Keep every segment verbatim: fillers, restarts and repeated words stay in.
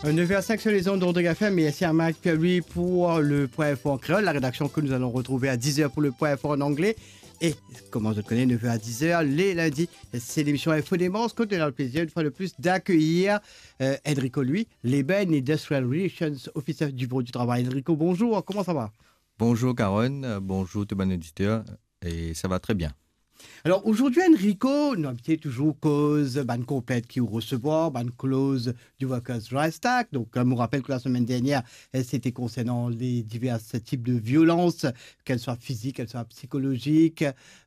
Neuf heures cinq sur les ondes d'Audrey F M. Merci à Mike Pierre-Louis pour le Point Info en créole, la rédaction que nous allons retrouver à dix heures pour le Point Info en anglais. Et, comme vous le connaissez, neuf heures à dix heures, les lundis, c'est l'émission Info Démence, que nous avons le plaisir, une fois de plus, d'accueillir euh, Enrico Louis, Labour and Industrial Relations Officer du Bureau du Travail. Enrico, bonjour, comment ça va ? Bonjour Karen, euh, bonjour tout bann oditer, e sa va tre bien. Alors aujourd'hui, Enrico, nou abitie touzour koz bann konplent ki ou resevwar, bann kloz du Workers' Rights Act. Donc, euh, je vous rappelle que la semaine dernière, euh, c'était concernant les divers types de violences, qu'elles soient physiques, qu'elles soient psychologiques,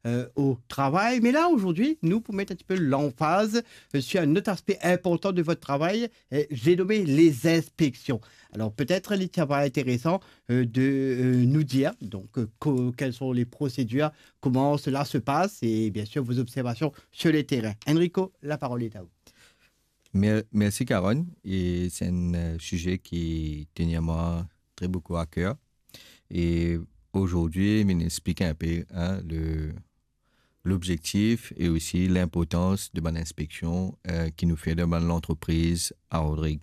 euh, au travail. Mais là, aujourd'hui, nous, pour mettre un petit peu l'emphase euh, sur un autre aspect important de votre travail, euh, j'ai nommé les inspections. Alors peut-être, li ti sera intéressant euh, de euh, nous dire donc euh, co- quelles sont les procédures, comment cela se passe et bien sûr vos observations sur le terrain. Enrico, la parole est à vous. Mer- Merci Karen, e se enn euh, size ki teni a mwa tre boukou a ker. E azordi, mi vinn explik inpe hein, le, l'objektif e osi linportans de bann inspeksion euh, ki nou fer dan bann lantrepriz a Rodrig.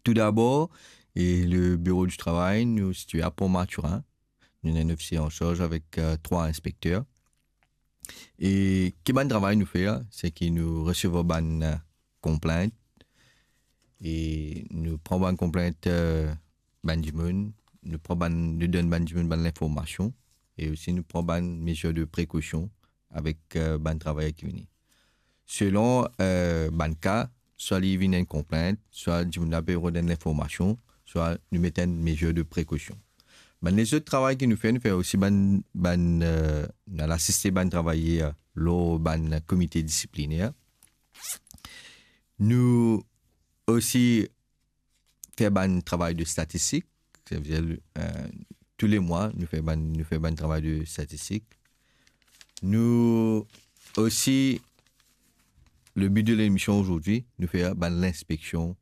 Toudabor, e le Bureau du Travail, nou sitwe a Port Mathurin. Nou ena enn ofisie ansarz avek euh, trwa inspekter. E ki bann travay nou fer, se ki nou resevwar bann euh, konplent e nou pran bann konplent euh, bann dimoun, nou pran bann, nou donn bann dimoun bann linformasion e osi nou pran bann mezir de prekosion avek euh, bann travayer ki vini. Selon euh, bann ka, swa li vinn enn konplent, swa dimoun la pe rod enn linformasion, swa nou met enn mezir de prekosion. Bann lezot travay ki nou fer, nou fer osi bann, bann euh, nou al asiste bann travayer lor bann komite disipliner. Nou osi fer bann travay de statistik, savedir euh, tou le mwa nou fer bann, nou fer bann travay de statistik. Nou osi, le bi de lemision azordi, nou fer bann linspeksion